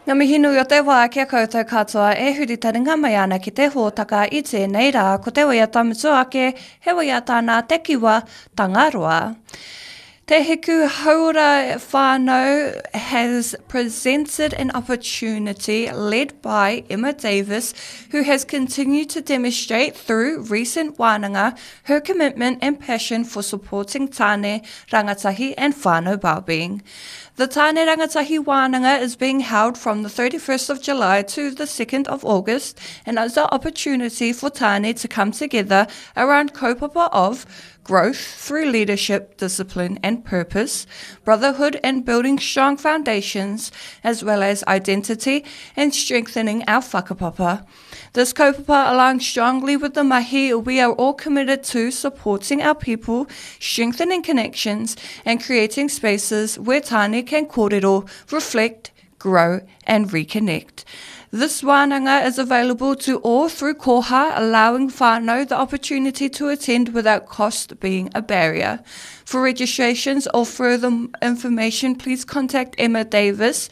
Ngā mihi nui o te wā ki a koutou katoa e huri taringa mai ana ki te hōtaka i tēnei rā ko te waiata mutu ake he waiata nā Te Kiwa Tangaroa. Te Hiku Hauora Whānau has presented an opportunity led by Emma Davis who has continued to demonstrate through recent wānanga her commitment and passion for supporting tāne, rangatahi and whānau wellbeing. The Tāne Rangatahi Wānanga is being held from the 31st of July to the 2nd of August and is an opportunity for tāne to come together around kaupapa of growth through leadership, discipline and purpose, brotherhood and building strong foundations, as well as identity and strengthening our whakapapa. This kaupapa aligns strongly with the mahi we are all committed to supporting our people, strengthening connections, and creating spaces where tāne can kōrero, reflect, grow and reconnect. This wānanga is available to all through Koha, allowing whānau the opportunity to attend without cost being a barrier. For registrations or further information, please contact Emma Davis,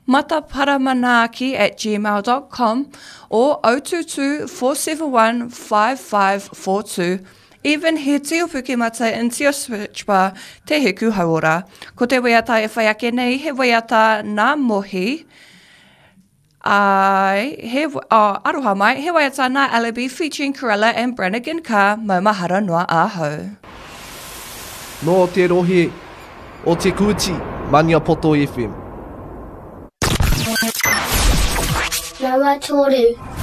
mataparamanaki at gmail.com or 022 471 5542. Even he tio pukemata in tio switch bar Te Hiku Hauora. Ko te waiata e whai ake nei, he waiata nā Mohi, Ai, he, oh, aroha mai, he waiata nā Alibi featuring Corella and Brannigan Ka maumahara noa ahau. Nō te rohe o Te Kooti, Maniapoto FM. Rawa Toru.